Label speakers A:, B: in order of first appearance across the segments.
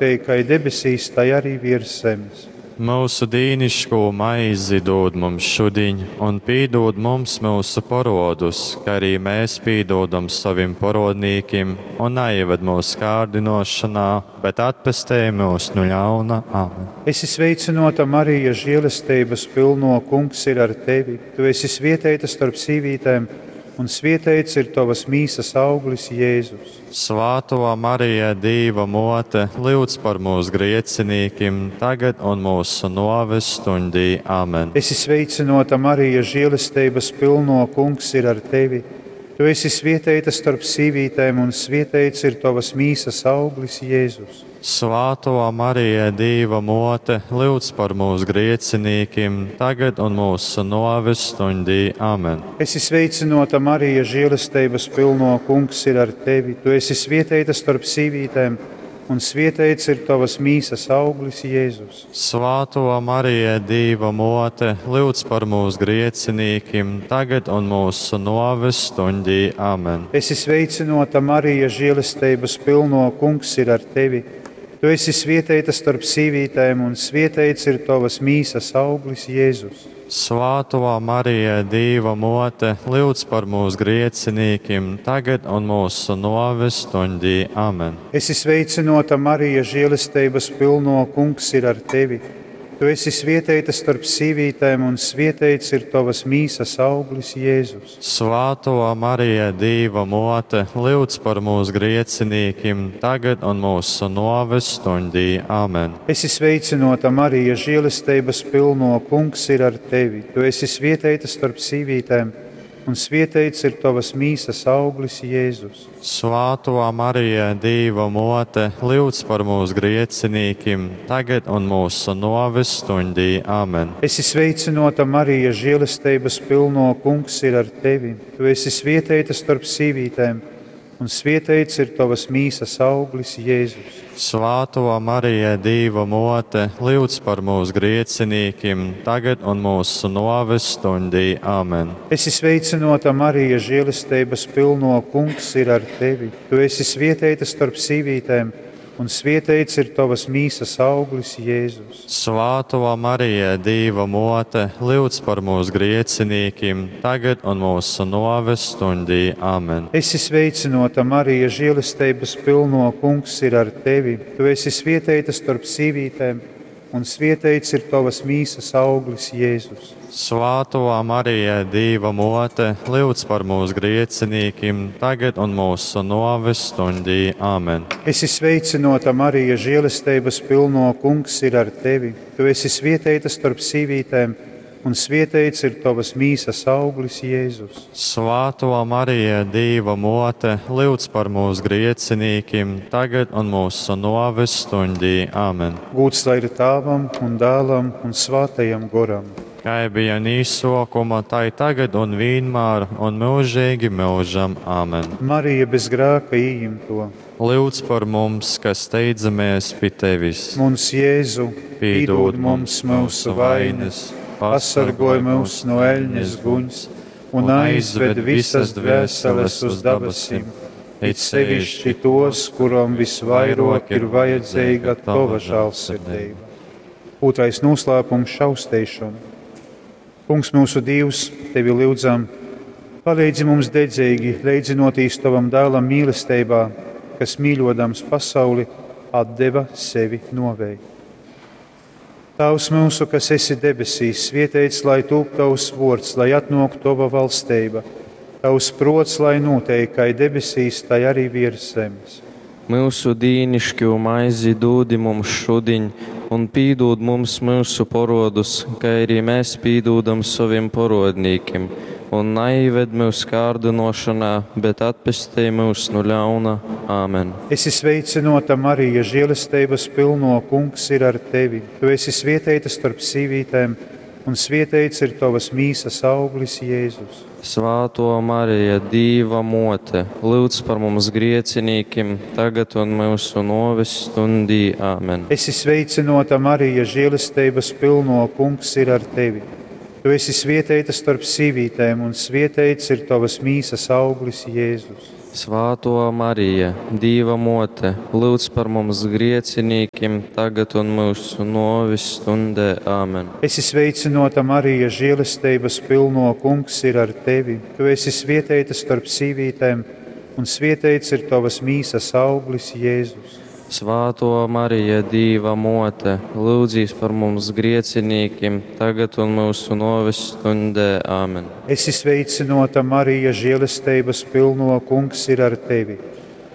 A: nūteik kai debesīs, tai arī viers zemes.
B: Myusu dīniškū maizi dūd mums šudiņ, un pīdūd mums myusu porōdus, kai arī mēs pīdūdam sovim porōdnīkim, un naīved myusu kārdynōšonā, bet atpestej myus nu ļauna. Amen.
A: Esi sveicynōta, Marija, želesteibas pylnō, Kungs ir ar tevi. Tu esi svieteita storp sīvītēm, un svieteits ir tovas mīsas auglis, Jēzus.
B: Svātō Marija, Dīva Mōte, lyudz par mums griecinīkim, tagad un mūsu nōves stuņdī. Amen.
A: Esi sveicynōta, Marija, želesteibas pylnō, Kungs ir ar tevi. Tu esi svieteita storp sīvītēm, un svieteits ir tovas mīsas auglis, Jēzus.
B: Svātō Marija, Dīva Mōte, lyudz par mums griecinīkim, tagad un mūsu nōves stuņdī. Amen.
A: Esi sveicynōta, Marija, želesteibas pylnō, Kungs ir ar tevi. Tu esi svieteita storp sīvītēm, un svieteits ir tovas mīsas auglis, Jēzus.
B: Svātō Marija, Dīva Mōte, lyudz par mums griecinīkim, tagad un mūsu nōves stuņdī. Amen.
A: Esi sveicynōta, Marija, želesteibas pylnō, Kungs ir ar tevi. Tu esi svieteita storp sīvītēm, un svieteits ir tovas mīsas auglis, Jēzus.
B: Svātō Marija, Dīva Mōte, lyudz par mums griecinīkim, tagad un mūsu nōves stuņdī. Amen.
A: Esi sveicynōta, Marija, želesteibas pylnō, Kungs ir ar tevi. Tu esi svieteita storp sīvītēm, un svieteits ir tovas mīsas auglis, Jēzus.
B: Svātō Marija, Dīva Mōte, lyudz par mums griecinīkim, tagad un mūsu nōves stuņdī. Amen.
A: Esi sveicynōta, Marija, želesteibas pylnō, Kungs ir ar tevi. Tu esi svieteita storp sīvītēm, un svieteits ir tovas mīsas auglis, Jēzus.
B: Svātō Marija, Dīva Mōte, lyudz par mums griecinīkim, tagad un mūsu nōves stuņdī. Amen.
A: Esi sveicynōta, Marija, želesteibas pylnō, Kungs ir ar tevi. Tu esi svieteita storp sīvītēm, un svieteits ir tovas mīsas auglis, Jēzus.
B: Svātō Marija, Dīva Mōte, lyudz par mums griecinīkim, tagad un mūsu nōves stuņdī. Amen.
A: Esi sveicynōta, Marija, želesteibas pylnō, Kungs ir ar tevi. Tu esi svieteita storp sīvītēm, un svieteits ir tovas mīsas auglis, Jēzus.
B: Svātō Marija, Dīva Mōte, lyudz par mums griecinīkim, tagad un mūsu nōves stuņdī. Amen.
A: Esi sveicynōta, Marija, želesteibas pylnō, Kungs ir ar tevi. Tu esi svieteita storp sīvītēm, un svieteits ir tovas mīsas auglis, Jēzus.
B: Svātō Marija, Dīva Mōte, lyudz par mums griecinīkim, tagad un mūsu nōves stuņdī. Amen.
A: Esi sveicynōta, Marija, želesteibas pylnō, Kungs ir ar tevi. Tu esi svieteita storp sīvītēm, un svieteits ir tovas mīsas auglis, Jēzus.
B: Svātō Marija, Dīva Mōte, lyudz par mums griecinīkim, tagad un mūsu nōves stuņdī. Amen.
A: Gūds lai ir Tāvam un Dēlam un Svātajam Goram.
B: Kai bija īsokuma, tai tagad un vienmēr un mūžīgi mūžam. Amen.
A: Marija bez grēka ījimto.
B: Lūdz par mums, kas steidzamies pie tevis.
A: Muns Jēzu, pīdod mums mūsu vainas, pasargoj mūs no eļņas guņs un aizved visas dvēseles uz dabasim, it sevišķi tos, kuram visvairāk ir vajadzīga tova žēlsirdība. Otrais noslēpums - šausteišana. Kungs, mūsu Dievs, tevi lūdzam, palīdzi mums dedzīgi leidzinoties tavam dēlam mīlestībā, kas mīļodams pasauli atdeva sevi novēj. Tēvs mūsu, kas esi debesīs, svētīts lai tūp tavs vārds, lai atnāk tava valstība. Tavs prots, lai notiek, kā debesīs, tai arī virs zemes.
C: Mūsu dīnišķo maizi dūdi mums šudiņ, un pīdūd mums mūsu porodus, kā arī mēs pīdūdam saviem porodnīkim. Un neived mūs kārdinošanā, bet atpestej mūs no ļauna. Āmen.
A: Esi sveicinota, Marija, žēlestības pilno, kungs ir ar tevi. Tu esi svētīta starp sīvītēm, un svētīts ir tavas mīsas auglis, Jēzus.
C: Svāto Marija, Dīva mote, lūdz par mums griecinīkim, tagad un mūsu noves stundī. Āmen.
A: Esi sveicinota, Marija, žēlestības pilno, kungs ir ar tevi. Tu esi svētīta starp sīvītēm, un svētīts ir tavas mīsas auglis, Jēzus.
C: Svātō Marija, Dīva Mōte, lūdz par mums griecinīkim, tagad un mūsu nōves stundē. Āmen.
A: Esi sveicināta, Marija, žēlestības pilno kungs ir ar tevi. Tu esi svietēta starp sīvītēm, un svietēts ir tavas mīsas auglis, Jēzus.
C: Svātō Marija, Dīva Mōte, lūdzīs par mums griecinīkim, tagad un mūsu nōves stundē. Āmen.
A: Esi sveicināta, Marija, žēlestības pilno kungs ir ar tevi.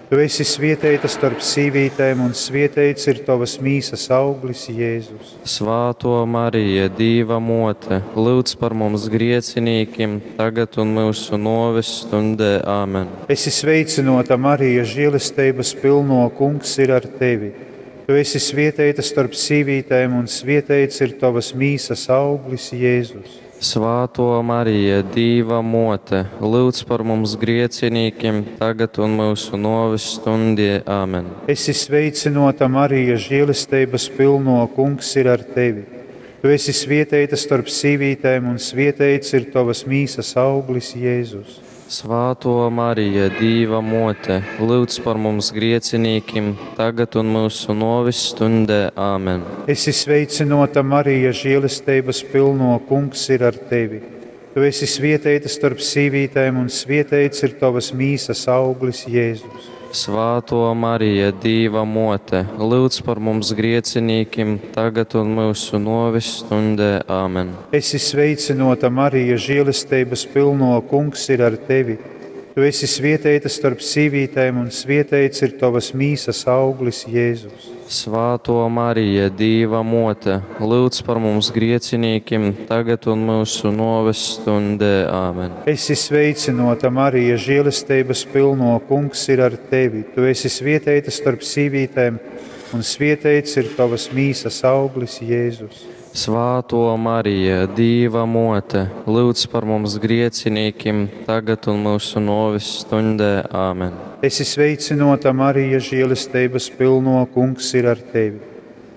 A: Tu esi svietēta starp sīvītēm, un svietēts ir tavas mīsas auglis, Jēzus.
C: Svātō Marija, Dīva Mōte, lūdz par mums griecinīkim, tagad un mūsu nōves stundē. Āmen.
A: Esi sveicināta, Marija, žēlestības pilno kungs ir ar tevi. Tu esi svietēta starp sīvītēm, un svietēts ir tavas mīsas auglis, Jēzus.
C: Svātō Marija, Dīva Mōte, lūdz par mums griecinīkim, tagad un mūsu nōves stundē. Āmen.
A: Esi sveicināta, Marija, žēlestības pilno kungs ir ar tevi. Tu esi svietēta starp sīvītēm, un svietēts ir tavas mīsas auglis, Jēzus.
C: Svātō Marija, Dīva Mōte, lūdz par mums griecinīkim, tagad un mūsu nōves stundē. Āmen.
A: Esi sveicināta, Marija, žēlestības pilno kungs ir ar tevi. Tu esi svietēta starp sīvītēm, un svietēts ir tavas mīsas auglis, Jēzus.
C: Svātō Marija, Dīva Mōte, lūdz par mums griecinīkim, tagad un mūsu nōves stundē. Āmen.
A: Esi sveicināta, Marija, žēlestības pilno kungs ir ar tevi. Tu esi svietēta starp sīvītēm, un svietēts ir tavas mīsas auglis, Jēzus.
C: Svātō Marija, Dīva Mōte, lūdz par mums griecinīkim, tagad un mūsu nōves stundē. Āmen.
A: Esi sveicināta, Marija, žēlestības pilno kungs ir ar tevi. Tu esi svietēta starp sīvītēm, un svietēts ir tavas mīsas auglis, Jēzus.
C: Svātō Marija, Dīva Mōte, lūdz par mums griecinīkim, tagad un mūsu nōves stundē. Āmen.
A: Esi sveicināta, Marija, žēlestības pilno kungs ir ar tevi.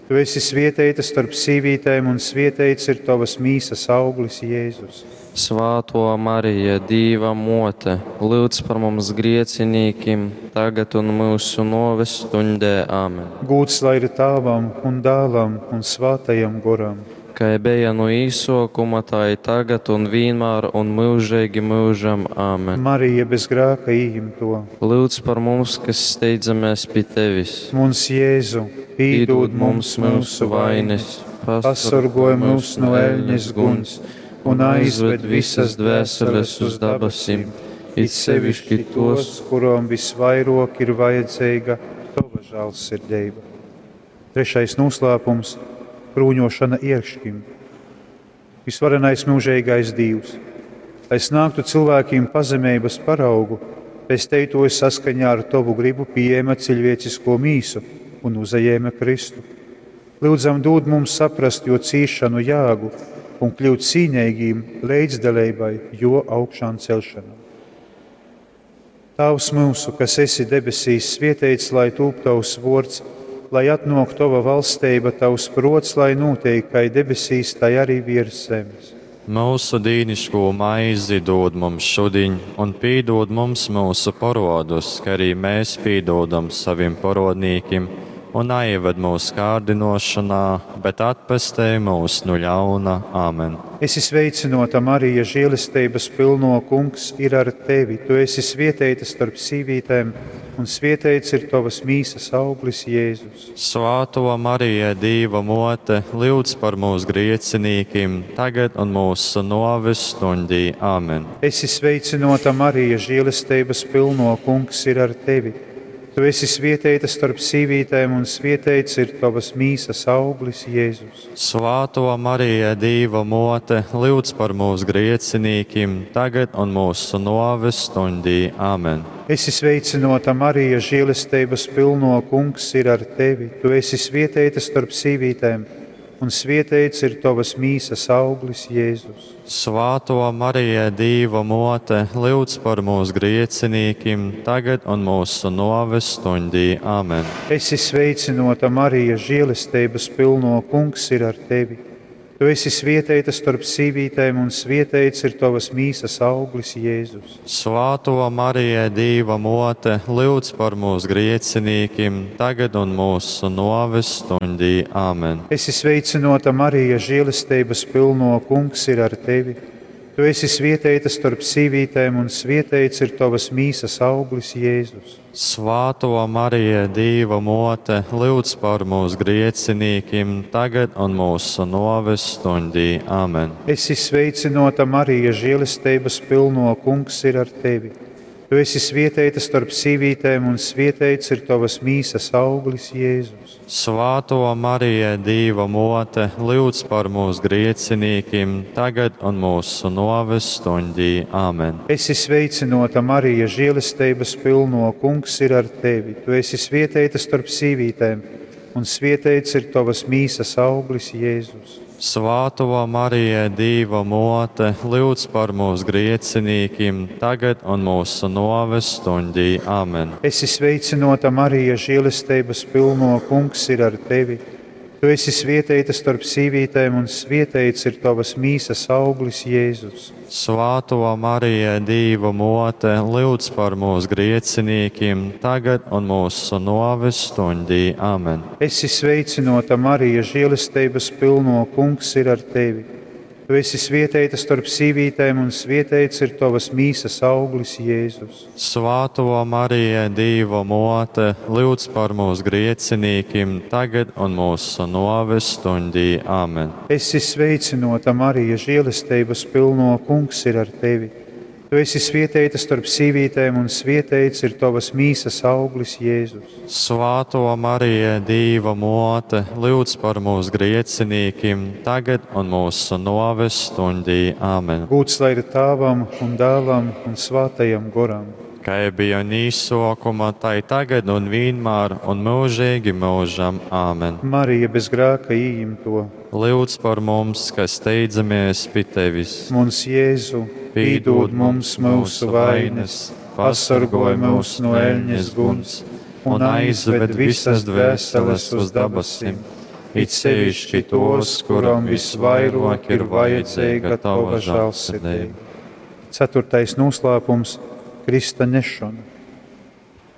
A: Tu esi svietēta starp sīvītēm, un svietēts ir tavas mīsas auglis, Jēzus.
C: Svātō Marija, Dīva Mōte, lūdz par mums griecinīkim, tagad un mūsu nōves stundē. Āmen.
A: Gūds lai ir tāvam un dēlam un svātajam goram.
C: Kai bija no īsokuma, tā ir tagad un vienmēr un mūžīgi mūžam. Āmen.
A: Marija bez grēka ījimto.
C: Lūdz par mums, kas steidzamies pie tevis.
A: Mums Jēzu, pīdod mums mūsu vainas, pasargoj mūs no eļņas guns un aizved visas dvēseles uz dabasim, it sevišķi tos, kurām visvairāk ir vajadzīga tava žēlsirdība. Trešais noslēpums - krūņošana iekšķim. Visvarenais mūžīgais Dievs, lai snāktu cilvēkiem pazemības paraugu, pesteitoja saskaņā ar tavu gribu pieejama cilvēcisko mīsu un uzajēma Kristu. Lūdzam, dod mums saprast jo cīšanu jāgu un kļūt cīnīgiem līdzdalībai, jo augšām celšanā. Tēvs mūsu, kas esi debesīs, svietēts, lai tūp tavs vārds, lai atnāk tava valstība, tavs prots, lai notiek, kā debesīs, tai arī virs zemes.
B: Mūsu dīniško maizi dod mums šodien, un pīdod mums mūsu parodus, kā arī mēs pīdodam saviem parodnīkim, un neieved mūsu kārdinošanā, bet atpestē mūs no ļauna. Āmen.
A: Esi sveicināta, Marija, žēlestības pilno kungs ir ar tevi. Tu esi svietēta starp sīvītēm, un svietēts ir tavas mīsas auglis, Jēzus.
B: Svāto Marija, Dīva mote, lūdz par mūsu griecinīkim, tagad un mūsu noves stundī. Āmen.
A: Esi sveicināta, Marija, žēlestības pilno kungs ir ar tevi. Tu esi svietēta starp sīvītēm, un svietēts ir tavas mīsas auglis, Jēzus.
B: Svāto Marija, Dīva mote, lūdz par mūsu griecinīkim, tagad un mūsu noves stundī. Āmen.
A: Esi sveicināta, Marija, žēlestības pilno kungs ir ar tevi. Tu esi svietēta starp sīvītēm, un svietēts ir tavas mīsas auglis, Jēzus.
B: Svāto Marija, Dīva mote, lūdz par mūsu griecinīkim, tagad un mūsu noves stundī. Āmen.
A: Esi sveicināta, Marija, žēlestības pilno kungs ir ar tevi. Tu esi svieteita storp sīvītēm, un svieteits ir tovas mīsas auglis, Jēzus.
B: Svāto Marija, Dīva mote, lūdz par mūs griecinīkim, tagad un mūsu noves stundī. Āmen.
A: Esi sveicināta, Marija, žēlestības pilno kungs ir ar tevi. Tu esi svieteita starp sīvītēm, un svieteits ir tovas mīsas auglis, Jēzus.
B: Svāto Marija, Dīva mote, lūdz par mūs griecinīkim, tagad un mūsu noves stundī. Āmen.
A: Esi sveicināta, Marija, žēlestības pilno kungs ir ar tevi. Tu esi svieteita starp sīvītēm, un svieteits ir tovas mīsas auglis, Jēzus.
B: Svāto Marija, Dīva mote, lūdz par mūs griecinīkim, tagad un mūsu noves stundī. Āmen.
A: Esi sveicināta, Marija, žēlestības pilno kungs ir ar tevi. Tu esi svieteita starp sīvītēm, un svieteits ir tovas mīsas auglis, Jēzus.
B: Svāto Marija, Dīva mote, lūdz par mūs griecinīkim, tagad un mūsu noves stundī. Āmen.
A: Esi sveicināta, Marija, žēlestības pilno kungs ir ar tevi. Tu esi svieteita starp sīvītēm, un svieteits ir tovas mīsas auglis, Jēzus.
B: Svāto Marija, Dīva mote, lūdz par mūs griecinīkim, tagad un mūsu noves stundī. Āmen.
A: Esi sveicināta, Marija, žēlestības pilno kungs ir ar tevi. Tu esi svieteita starp sīvītēm, un svieteits ir tovas mīsas auglis, Jēzus.
B: Svāto Marija, Dīva mote, lūdz par mūs griecinīkim, tagad un mūsu noves stundī. Āmen.
A: Esi sveicināta, Marija, žēlestības pilno kungs ir ar tevi. Tu esi svieteita starp sīvītēm, un svieteits ir tovas mīsas auglis, Jēzus.
B: Svāto Marija, Dīva mote, lūdz par mūs griecinīkim, tagad un mūsu noves stundī. Āmen.
A: Gūts lai ir tāvam un dēlam un svātajam goram.
B: Kā bija un īsokuma, tai tagad un vienmēr un mūžīgi mūžam. Āmen.
A: Marija bez grēka ieimto.
B: Lūdz par mums, kas steidzamies pie tevis.
A: Mums Jēzu, pīdod mums mūsu vainas, pasargoj mūs no eļņas guns un aizved visas dvēseles uz dabasim,
B: it sevišķi tos, kuram visvairāk ir vajadzīga tava žēlsirdība.
A: Ceturtais noslēpums - Krista nešana.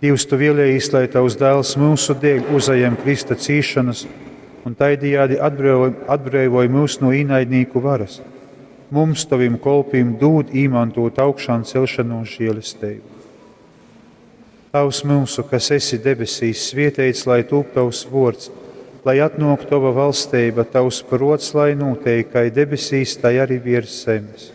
A: Dievs, tu vēlējies, lai tavs dēls mūsu dēļ uzajem Krista cīšanas un tādējādi atbrīvoja mūs no ienaidnieku varas. Mums, tavim kolpim, dod īmantot augšām celšanos žēlastību. Tavs mūsu, kas esi debesīs, svietēts, lai tūp tavs vārds, lai atnāk tava valstība, tavs prots, lai notiek, kā debesīs, tai arī virs zemes.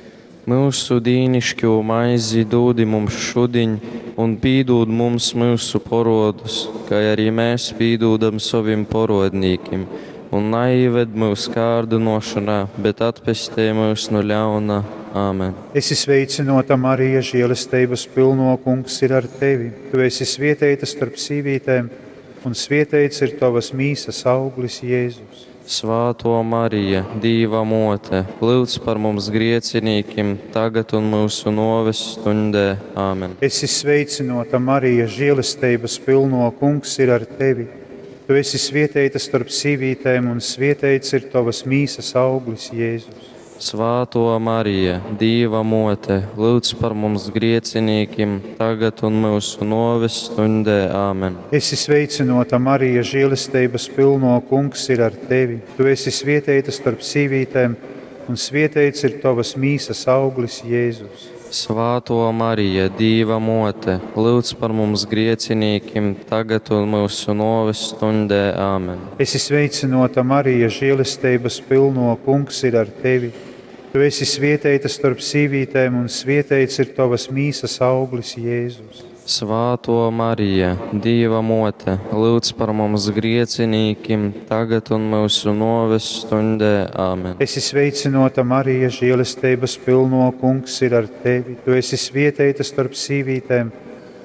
C: Mūsu dīnišķo maizi dūdi mums šudiņ, un pīdūd mums mūsu porodus, kā arī mēs pīdūdam savim porodnīkim. Un naieved mūs kārdinošanā, bet atpestē mūs no ļauna. Āmen.
A: Esi sveicināta, Marija, žēlestības pilno kungs ir ar tevi. Tu esi svietēta starp sīvītēm, un svietēts ir tavas mīsas auglis, Jēzus.
C: Svāto Marija, Dīva mote, lūdz par mums griecinīkim, tagad un mūsu noves stundē. Āmen.
A: Esi sveicināta, Marija, žēlestības pilno kungs ir ar tevi. Tu esi svietēta starp sīvītēm, un svietēts ir tavas mīsas auglis, Jēzus.
C: Svāto Marija, Dīva mote, lūdz par mums griecinīkim, tagad un mūsu noves stundē. Āmen.
A: Esi sveicināta, Marija, žēlestības pilno kungs ir ar tevi. Tu esi svietēta starp sīvītēm, un svietēts ir tavas mīsas auglis, Jēzus.
C: Svāto Marija, Dīva mote, lūdz par mums griecinīkim, tagad un mūsu noves stundē. Āmen.
A: Esi sveicināta, Marija, žēlestības pilno kungs ir ar tevi. Tu esi svietēta starp sīvītēm, un svietēts ir tavas mīsas auglis, Jēzus.
C: Svāto Marija, Dīva mote, lūdz par mums griecinīkim, tagad un mūsu noves stundē. Āmen.
A: Esi sveicināta, Marija, žēlestības pilno kungs ir ar tevi. Tu esi svietēta starp sīvītēm,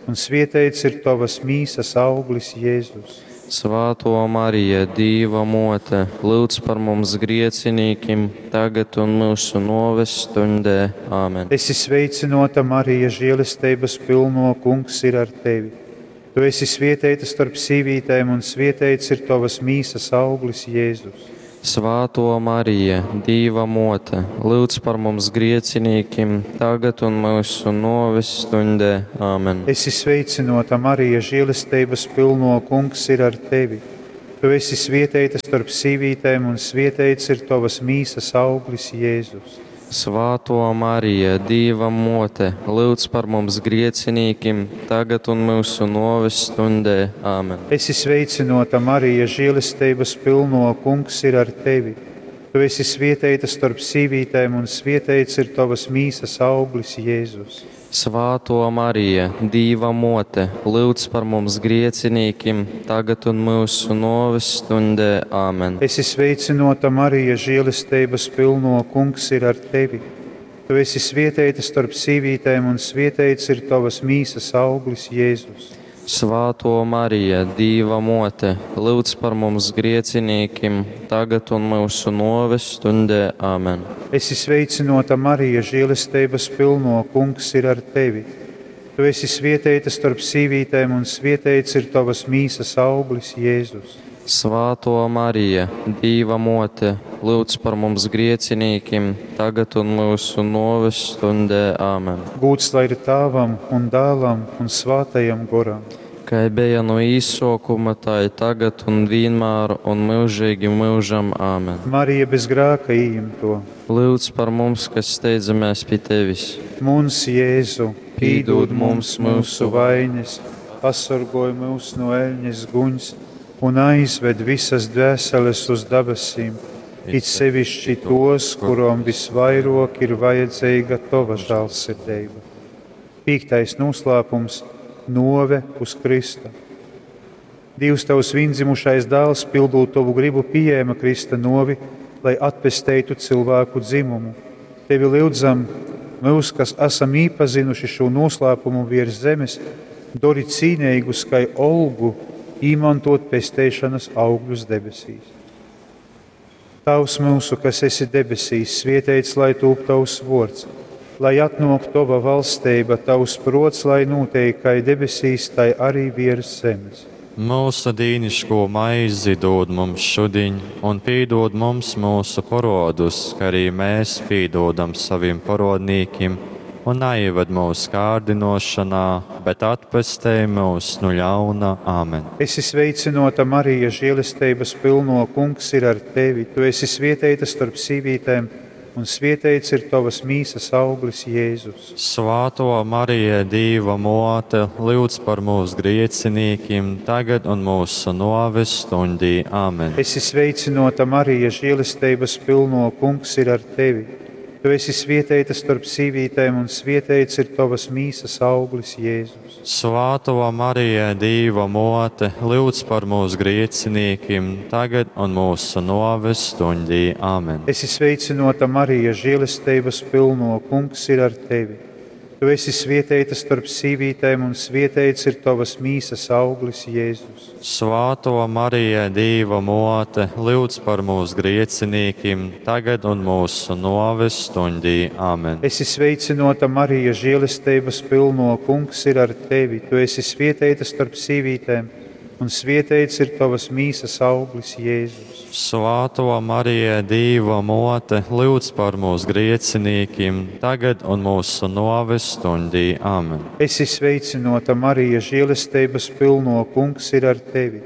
A: un svietēts ir tavas mīsas auglis, Jēzus.
C: Svāto Marija, Dīva mote, lūdz par mums griecinīkim, tagad un mūsu noves stundē. Āmen.
A: Esi sveicināta, Marija, žēlestības pilno kungs ir ar tevi. Tu esi svietēta starp sīvītēm, un svietēts ir tavas mīsas auglis, Jēzus.
C: Svātō Marija, Dīva Mōte, lyudz par mums griecinīkim, tagad un myusu nōves stuņdē. Āmen.
A: Esi sveicynōta, Marija, želesteibas pylnō, Kungs ir ar tevi. Tu esi svieteita storp sīvītēm un svieteits ir tovas mīsas auglis, Jēzus.
C: Svātō Marija, Dīva Mōte, lyudz par mums griecinīkim, tagad un myusu nōves stuņdē. Āmen.
A: Esi sveicynōta, Marija, želesteibas pylnō, Kungs ir ar tevi. Tu esi svieteita storp sīvītēm un svieteits ir tovas mīsas auglis, Jēzus.
C: Svātō Marija, Dīva Mōte, lyudz par mums griecinīkim, tagad un myusu nōves stuņdē. Āmen.
A: Esi sveicynōta, Marija, želesteibas pylnō, Kungs ir ar tevi. Tu esi svieteita storp sīvītēm un svieteits ir tovas mīsas auglis, Jēzus.
C: Svātō Marija, Dīva Mōte, lyudz par mums griecinīkim, tagad un myusu nōves stuņdē. Āmen.
A: Esi sveicynōta, Marija, želesteibas pylnō, Kungs ir ar tevi. Tu esi svieteita storp sīvītēm un svieteits ir tovas mīsas auglis, Jēzus.
C: Svātō Marija, Dīva Mōte, lyudz par mums griecinīkim, tagad un myusu nōves stuņdē. Āmen.
A: Gūds lai ir Tāvam un Dālam un Svātajam Goram.
C: Kai beja no īsōkuma, tai tagad un vienmēr un myužīgi myužam. Āmen.
A: Marija bez grāka ījimto.
C: Lyudz par mums, kas steidzamies pi tevis.
A: Muns Jēzu, pīdūd mums mūsu vainas, pasorgoj mūs no eļņas guņs un aizved visas dvēseles uz dabasim, it sevišķi tos, kurom visvairāk ir vajadzīga tova žālsirdība. Pīktais noslēpums - nove uz Krista. Dievs tavs viendzimušais dēls, pildot tavu gribu, pieņēma Krista novi, lai atpesteitu cilvēku dzimumu. Tevi lūdzam, mūs, kas esam īpazinuši šo noslēpumu virs zemes, dori cīnīgus kai olgu, īmantot pesteišanas augļus debesīs. Tavs mūsu, kas esi debesīs, svieteits, lai tūp tavs vārds, lai atnāk tava valstība, tavs prots, lai notiek kai debesīs, tai arī virs zemes.
B: Mūsu dīniško maizi dod mums šodien, un piedod mums mūsu parodus, kā arī mēs piedodam saviem parodnīkiem, un neieved mūsu kārdinošanā, bet atpestej mūs no ļauna. Āmen.
A: Esi sveicinota, Marija, žēlestības pilno, Kungs ir ar tevi. Tu esi svieteita starp sīvītēm, un svieteits ir tavas mīsas auglis, Jēzus.
B: Svāto Marija, Dīva mote, lūdz par mūsu griecinīkiem, tagad un mūsu noves stundī. Āmen.
A: Esi sveicinota, Marija, žēlestības pilno, Kungs ir ar tevi. Tu esi svieteita starp sīvītēm, un svieteits ir tavas mīsas auglis, Jēzus.
B: Svāto Marija, Dīva mote, lūdz par mūsu griecinīkiem, tagad un mūsu noves stundī. Āmen.
A: Esi sveicinota, Marija, žēlestības pilno, Kungs ir ar tevi. Tu esi svieteita starp sīvītēm, un svieteits ir tavas mīsas auglis, Jēzus.
B: Svāto Marija, Dīva mote, lūdz par mūsu griecinīkiem, tagad un mūsu noves stundī. Āmen.
A: Esi sveicinota, Marija, žēlestības pilno, Kungs ir ar tevi. Tu esi svieteita starp sīvītēm, un svieteits ir tavas mīsas auglis, Jēzus.
B: Svāto Marija, Dīva mote, lūdz par mūsu griecinīkiem, tagad un mūsu noves stundī. Āmen.
A: Esi sveicinota, Marija, žēlestības pilno, Kungs ir ar tevi.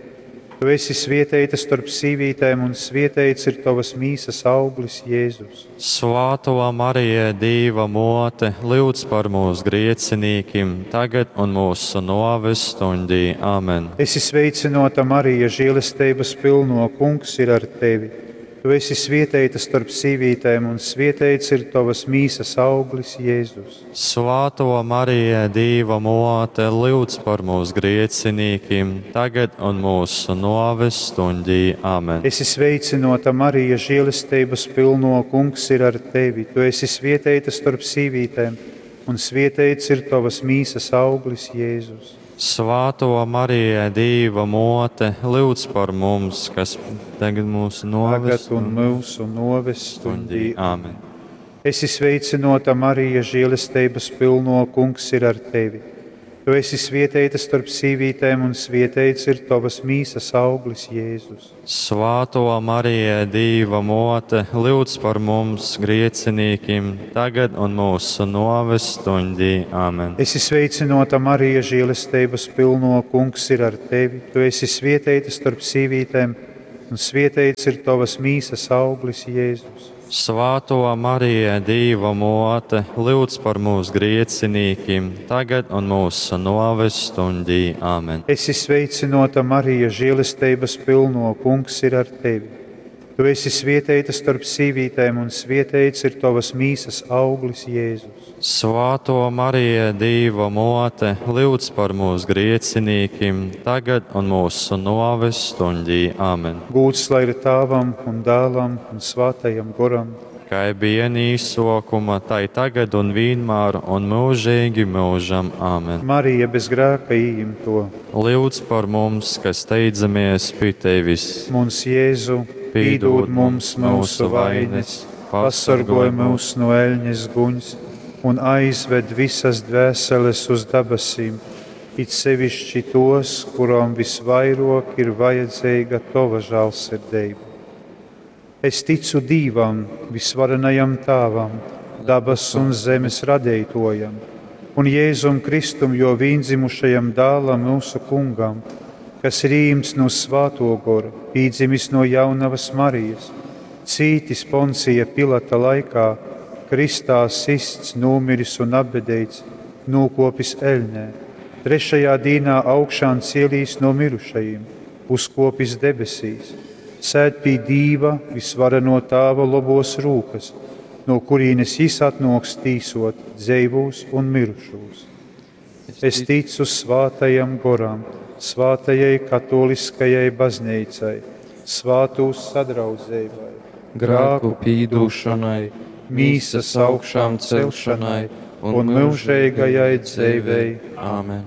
A: Tu esi svieteita starp sīvītēm, un svieteits ir tavas mīsas auglis, Jēzus.
B: Svāto Marija, Dīva mote, lūdz par mūsu griecinīkiem, tagad un mūsu noves stundī. Āmen.
A: Esi sveicinota, Marija, žēlestības pilno, Kungs ir ar tevi. Tu esi svieteita starp sīvītēm, un svieteits ir tavas mīsas auglis, Jēzus.
B: Svāto Marija, Dīva mote, lūdz par mūsu griecinīkiem, tagad un mūsu noves stundī. Āmen.
A: Esi sveicinota, Marija, žēlestības pilno, Kungs ir ar tevi. Tu esi svieteita starp sīvītēm, un svieteits ir tavas mīsas auglis, Jēzus.
B: Svāto Marija, Dīva mote, lūdz par mums, kas tagad mūsu noves
A: Tagad un mūsu noves stundī.
B: Āmen.
A: Esi sveicinota, Marija, žēlestības pilno, Kungs ir ar tevi. Tu esi svietēta starp sīvītēm, un svietēts ir tovas mīsas auglis, Jēzus.
B: Svātō Marija, Dīva mōte, lyudz par mums griecinīkim, tagad un mūsu nōves stuņdī. Amen.
A: Esi sveicināta, Marija, žēlestības pilno, kungs ir ar tevi. Tu esi svietēta starp sīvītēm, un svietēts ir tovas mīsas auglis, Jēzus.
B: Svātō Marija, Dīva mōte, lyudz par mūsu griecinīkim, tagad un mūsu nōves stuņdī. Amen.
A: Esi sveicināta, Marija, žēlestības pilno, kungs ir ar tevi. Tu esi svietēta starp sīvītēm, un svietēts ir tovas mīsas auglis, Jēzus.
B: Svātō Marija, Dīva mōte, lyudz par mūsu griecinīkim, tagad un mūsu nōves stuņdī. Amen.
A: Gūds lai ir Tāvam un Dēlam un Svātajam Goram.
B: Kā bija īsokuma, tai tagad un vienmēr un mūžīgi mūžam. Amen.
A: Marija bez grēka ieimto.
B: Lūdz par mums, kas steidzamies pie tevis.
A: Mums Jēzu, pīdod mums mūsu vainas, pasargoj mūs no eļņas guņas un aizved visas dvēseles uz dabasīm, it sevišķi tos, kurām visvairāk ir vajadzīga tova žēlsirdība. Es ticu Dīvam, visvarenajam Tāvam, dabas un zemes radītojam, un Jēzum Kristum, jo vīndzimušajam dēlam mūsu kungam, kas ir īmts no Svāto gora, pīdzimis no jaunavas Marijas, cītis Poncija Pilata laikā, kristā sists, nomiris un apbedīts, nokopis eļnē, trešajā dīnā augšām cielīs no mirušajiem, uzkopis debesīs, sēd pie Dīva visvareno Tāva lobos rūkas, no kurienes jis atnoks tīsot dzeivūs un mirušos. Es ticu svātajam goram, svātajai katoliskajai baznīcai, svātūs sadraudzībai,
C: grēku pīdūšanai,
A: mīsas augšām celšanai un mūžīgajai dzīvei.
C: Āmen.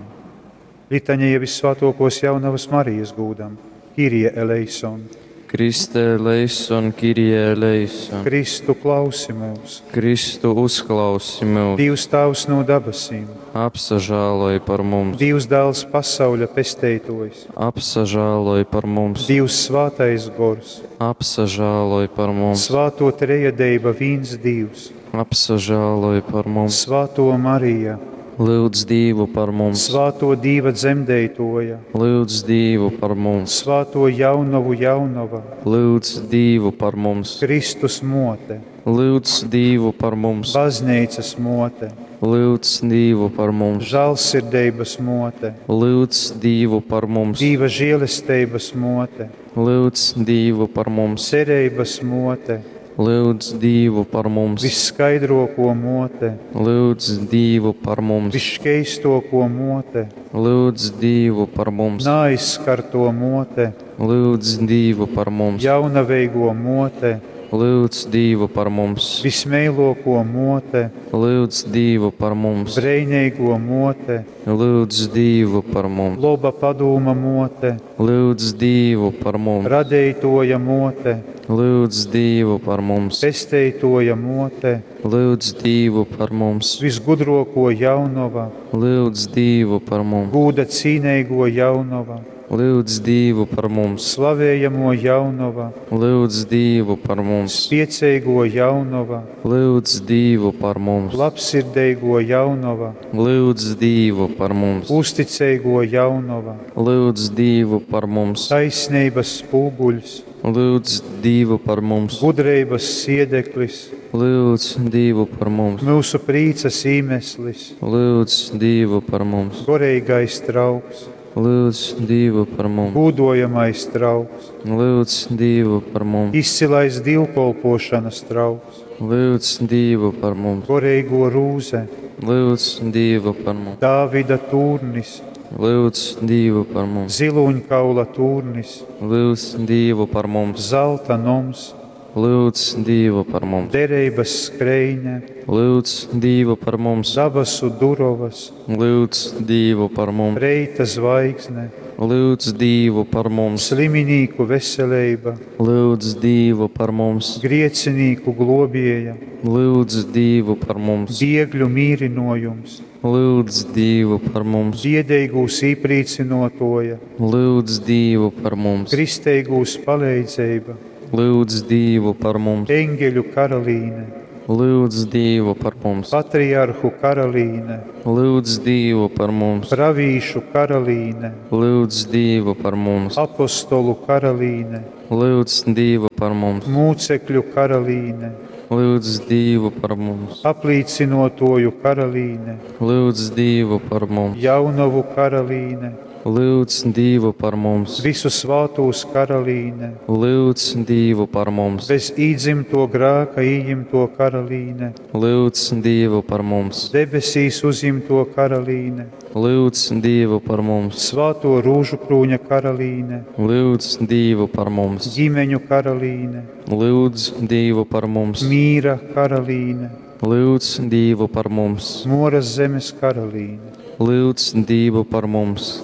A: Litaņija visvētokos jaunavas Marijas gūdam, Kirie eleison.
C: Kriste eleison, Kirie eleison.
A: Kristu klausi mūs,
C: Kristu uzklausi mūs,
A: Dievs Tēvs no dabasīm,
C: apsažāloj par mums,
A: Dievs Dēls pasauļa pesteitojs,
C: apsažāloj par mums,
A: Dievs Svātais Gors,
C: apsažāloj par mums,
A: Svāto Trejadeiba vīns Dievs,
C: apsažāloj par mums,
A: Svāto Marija,
C: lūdz Dievu par mums,
A: Svāto Dīva dzemdētoja,
C: lūdz Dievu par mums,
A: Svāto jaunavu jaunava,
C: lūdz Dievu par mums,
A: Kristus mote,
C: lūdz Dievu par mums,
A: Baznīcas mote,
C: lūdz Dievu par mums,
A: žēlsirdības mote,
C: lūdz Dievu par mums,
A: Dīva žēlestības mote,
C: lūdz Dievu par mums,
A: cerības mote,
C: lūdz Dievu par mums,
A: visskaidroko mote,
C: lūdz Dievu par mums,
A: visškeistoko mote,
C: lūdz Dievu par mums,
A: naaizskarto mote,
C: lūdz Dievu par mums,
A: jaunaveigo mote,
C: lūdz Dievu par mums,
A: vismeiloko mote,
C: lūdz Dievu par mums,
A: breineigo mote,
C: lūdz Dievu par mums,
A: loba padūma mote,
C: lūdz Dievu par mums,
A: radeitoja mote,
C: lūdz Dievu par mums,
A: pesteitoja mote,
C: lūdz Dievu par mums,
A: visgudroko jaunova,
C: lūdz Dievu par mums,
A: gūda cīneigo jaunova,
C: lūdz Dievu par mums,
A: slavējamo jaunova,
C: lūdz Dievu par mums,
A: spieceigo jaunova,
C: lūdz Dievu par mums,
A: labsirdeigo jaunova,
C: lūdz Dievu par mums,
A: uzticeigo jaunova,
C: lūdz Dievu par mums,
A: taisnības spūguļs,
C: lūdz Dievu par mums,
A: gudrības siedeklis,
C: lūdz Dievu par mums,
A: mūsu prīcas īmeslis,
C: lūdz Dievu par mums,
A: goreigais trauks,
C: lūdz Dievu par mums,
A: gūdojamais trauks,
C: lūdz Dievu par mums,
A: izcilais dievkolpošanas trauks,
C: lūdz Dievu par mums,
A: goreigo rūze,
C: lūdz Dievu par mums,
A: Dāvida tūrnis,
C: lūdz Dievu par mums,
A: ziluņkaula tūrnis,
C: lūdz Dievu par mums,
A: zelta noms,
C: lūdz Dievu par mums,
A: derības skreine,
C: lūdz Dievu par mums,
A: dabasu durovas,
C: lūdz Dievu par mums,
A: reita zvaigzne,
C: Lyudz Dīvu par mums!
A: Sliminīku veseleiba,
C: Lyudz Dīvu par mums!
A: Griecinīku globieja,
C: Lyudz Dīvu par mums!
A: Biegļu mīrynojums,
C: Lyudz Dīvu par mums!
A: Biedeigūs īprīcynuotuoja,
C: Lyudz Dīvu par mums!
A: Kristeigūs paleidzeiba,
C: Lyudz Dīvu par mums!
A: Eņgeļu karalīne,
C: Lyudz Dīvu par mums!
A: Patriarhu karalīne,
C: Lyudz Dīvu par mums!
A: Pravīšu karalīne,
C: Lyudz Dīvu par mums!
A: Apostolu karalīne,
C: Lyudz Dīvu par mums!
A: Mūcekļu karalīne,
C: Lyudz Dīvu par mums!
A: Aplīcynuotuoju karalīne,
C: Lyudz Dīvu par mums!
A: Jaunovu karalīne,
C: Lyudz Dīvu par mums!
A: Visu svātūs karalīne,
C: Lyudz Dīvu par mums!
A: Bez īdzymtuo grāka ījimtuo karalīne,
C: Lyudz Dīvu par mums!
A: Debesīs uzjimtuo karalīne,
C: Lyudz Dīvu par mums!
A: Svātuo rūžukrūņa karalīne,
C: Lyudz Dīvu par mums!
A: Ģimeņu karalīne,
C: Lyudz Dīvu par mums!
A: Mīra karalīne,
C: Lyudz Dīvu par mums!
A: Moras zemes karalīne,
C: Lyudz Dīvu par mums!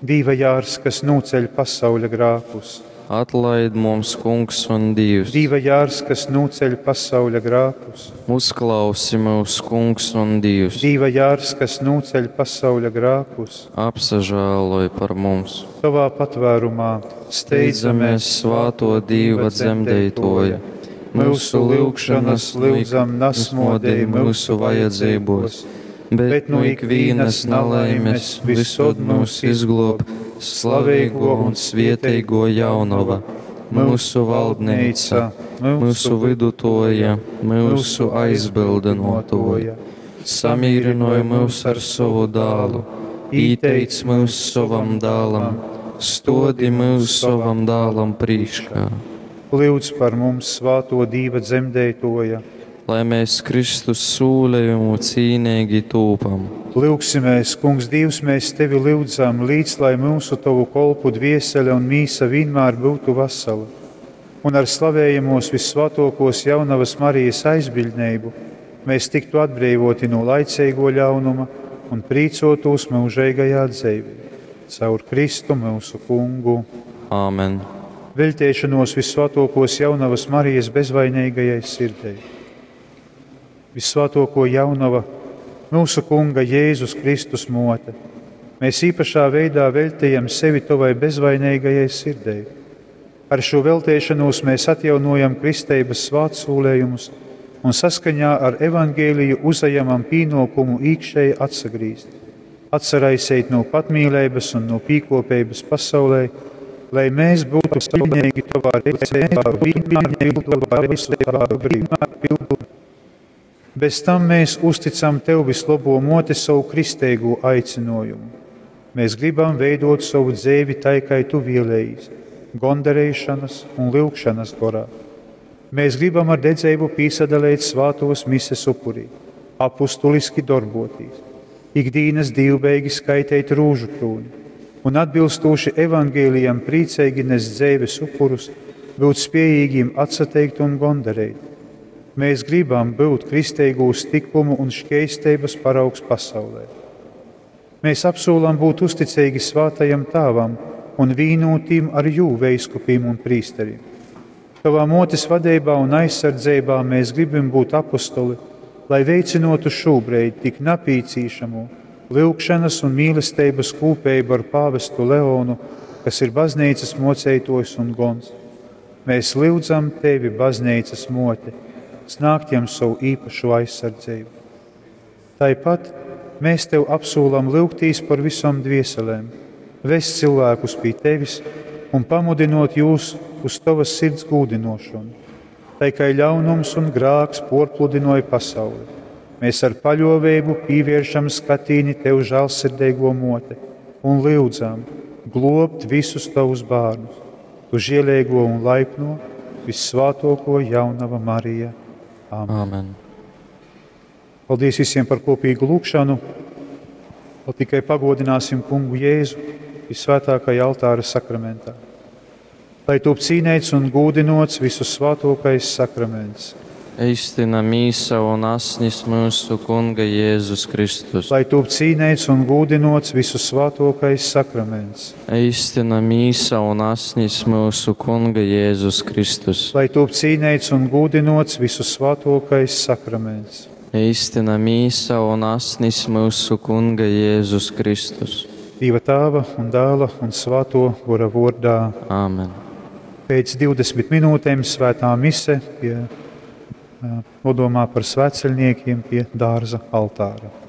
A: Dīva jārs, kas nūceļ pasauļa grākus,
C: Atlaid mums, Kungs un Dievs!
A: Dīva jārs, kas nūceļ pasauļa grākus,
C: Uzklausi mūs, Kungs un Dievs!
A: Dīva jārs, kas nūceļ pasauļa grākus,
C: Apsažēloj par mums!
A: Tovā patvērumā
C: Steidzamies svāto Dīva dzemdeitoja! Mūsu lyugšanas lyudzam nasmodēj mūsu vajadzībos, bet no ikvienas nelaimes visod mūs izglob slavīgo un svieteigo jaunava, mūsu valdneica, mūsu vidutoja, mūsu aizbildinotoja. Samīrinoja mūs ar savu dālu, īteic mūs savam dālam, stodi mūs savam dālam prīškā.
A: Lūdz par mums svāto Dīva dzemdētoja.
C: Lai mēs Kristus sūlējumu cīnīgi tūpam.
A: Lūgsimies, Kungs, Dievs, mēs tevi lūdzam, līdz lai mūsu tavu kolpu dviesele un mīsa vienmēr būtu vesela, un ar slavējamos vissvētākos jaunavas Marijas aizbiļdnību mēs tiktu atbrīvoti no laicīgo ļaunuma un prīcotos mūžīgajā dzīvē. Caur Kristu mūsu kungu.
C: Āmen.
A: Veltēšanos vissvētākos jaunavas Marijas bezvainīgajai sirdei. Vissvētāko jaunava, mūsu kunga Jēzus Kristus mote, mēs īpašā veidā veltījam sevi tavai bezvainīgajai sirdei. Ar šo veltēšanos mēs atjaunojam kristeibas svētsūlējumus un saskaņā ar evangēliju uzajamam pienākumu īkšēji atsagrīzt, atsaraisīt no patmīlības un no pīkopības pasaulē, lai mēs būtu pilnīgi tavā rīcībā, vienmēr pildot visu tavu gribu. Bez tam mēs uzticam Tev vislabo moti savu kristīgo aicinājumu. Mēs gribam veidot savu dzīvi tai, kā Tu vēlējies, gondarēšanas un lūgšanas gorā. Mēs gribam ar dedzību piesadalīt svātos mises upurī, apustuliski darbotīs, ikdienas divbeigi skaitīt rūžu krūni un atbilstoši evangēlijam priecīgi nest dzīves upurus, būt spējīgiem atsateikt un gondarēt. Mēs gribam būt kristīgūs tikumu un šķēstības paraugs pasaulē. Mēs apsolam būt uzticīgi svātajam tāvam un vīnotīm ar jū veiskupīm un prīsteriem. Tavā motes vadībā un aizsardzībā mēs gribam būt apostoli, lai veicinotu šobrīd tik napīcīšamo lūgšanas un mīlestības kūpējumu ar pāvestu Leonu, kas ir baznīcas mocētojs un gons. Mēs lūdzam tevi, baznīcas mote, snākt jam savu īpašu aizsardzību. Tāpat mēs tev apsūlam lūgtīs par visām dvieselēm, vest cilvēkus pie tevis un pamudinot jūs uz tavas sirds gūdinošanu. Tai kā ļaunums un grāks porpludinoja pasauli, mēs ar paļovēbu pievēršam skatīni tev žēlsirdīgo mote un lūdzam globt visus tavus bērnus, tu žielīgo un laipno, vissvātoko jaunava Marija. Āmen.
C: Āmen.
A: Paldies visiem par kopīgu lūgšanu. Vēl tikai pagodināsim kungu Jēzu visvētākajā altāra sakramentā. Lai top cīnēts un gūdinots visu svātokais sakraments.
C: Eistina mīsa un asnis myusu Kunga Jēzus Kristus.
A: Lai tūp cīneits un gūdynōts vysusvātōkais sakraments.
C: Eistina mīsa un asnis myusu Kunga Jēzus Kristus.
A: Lai tūp cīneits un gūdynōts vysusvātōkais sakraments.
C: Eistina mīsa un asnis myusu Kunga Jēzus Kristus.
A: Dīva Tāva un Dāla un Svātō Gora vōrdā.
C: Āmen.
A: Pēc 20 minūtēm svētā mise pie nodomā par svētceļniekiem pie dārza altāra.